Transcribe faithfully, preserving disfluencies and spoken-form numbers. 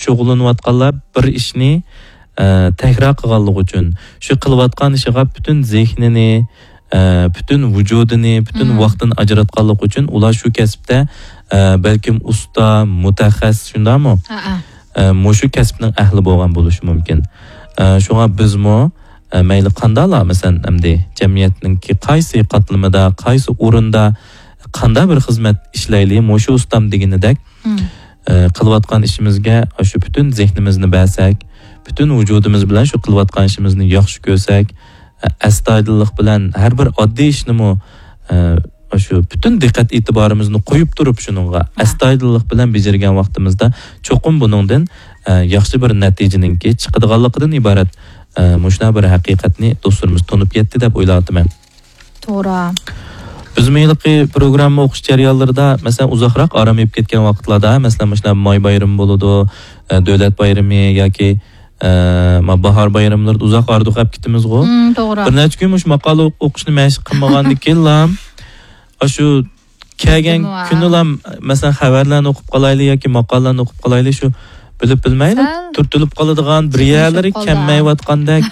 شۇغۇللىنىۋاتقانلار بىر ئىشنى، ئە، تەكرار قىلغانلىقى ئۈچۈن، شۇ قىلىۋاتقان ئىشىغا پۈتۈن زېھنىنى، ئە، پۈتۈن ۋۇجۇدىنى، پۈتۈن ۋاقتىنى ئاجراتقانلىقى ئۈچۈن ئۇلار شۇ كەسىپتە، ئە، بەلكىم ئۇستا، مۇتەخەسسىس، شۇنداقمۇ؟ ھە، ھە. ئە، مۇشۇ كەسىپنىڭ ئەھلى بولغان بولۇشى مۇمكىن. ئە، شۇڭا بىزمۇ، ئە، مەيلى قانداقلا، مەسىلەن، ئەمدى جەمئىيەتنىڭكى قايسى قاتلىمىدا، قايسى ئورۇندا، قانداق بىر خىزمەت ئىشلەيلى، مۇشۇ ئۇستام دېگىنىدەك، ئە، قىلىۋاتقان ئىشىمىزگە شۇ پۈتۈن زېھنىمىزنى بەرسەك، پۈتۈن ۋۇجۇدىمىز بىلەن شۇ قىلىۋاتقان ئىشىمىزنى ياخشى كۆرسەك، ئە، ئەستايىدىللىق بىلەن ھەر بىر ئاددىي ئىشنىمۇ، ئە، شۇ پۈتۈن دىققەت ئېتىبارىمىزنى قويۇپ تۇرۇپ شۇنىڭغا ئەستايىدىللىق بىلەن بېجىرگەن ۋاقتىمىزدا چوقۇم بۇنىڭدىن، ئە، ياخشى بىر نەتىجىنىڭكى چىقىدىغانلىقىدىن ئىبارەت، ئە، مۇشۇنداق بىر ھەقىقەتنى دوستلىرىمىز تونۇپ يەتتى دەپ ئويلاۋاتىمەن. توغرا. بىزمۇ ھېلىقى پروگرامما ئوقۇش جەريانلىرىدا، مەسىلەن، ئۇزاقراق ئارام ئېلىپ كەتكەن ۋاقىتلاردا، مەسىلەن، مۇشۇنداق ماي بايرىمى بولىدۇ، ئە، دۆلەت بايرىمى ياكى، ئە، ما باھار بايراملىرىدا ئۇزاق ئارىدۇق ئەپ كېتىمىزغۇ. مم، توغرا. بىر نەچچە كۈن مۇشۇ ماقالە ئوق-، ئوقۇشنى مەشىق قىلمىغاندىن كېيىنلا، ئاشۇ كەلگەن كۈنىلا، مەسىلەن، خەۋەرلەرنى ئوقۇپ قالايلى ياكى ماقالىلەرنى ئوقۇپ قالايلى، شۇ بىلىپ بىلمەيلا تۈرتۈلۈپ قالىدىغان، بىر يەرلىرى كەلمەيۋاتقاندەك،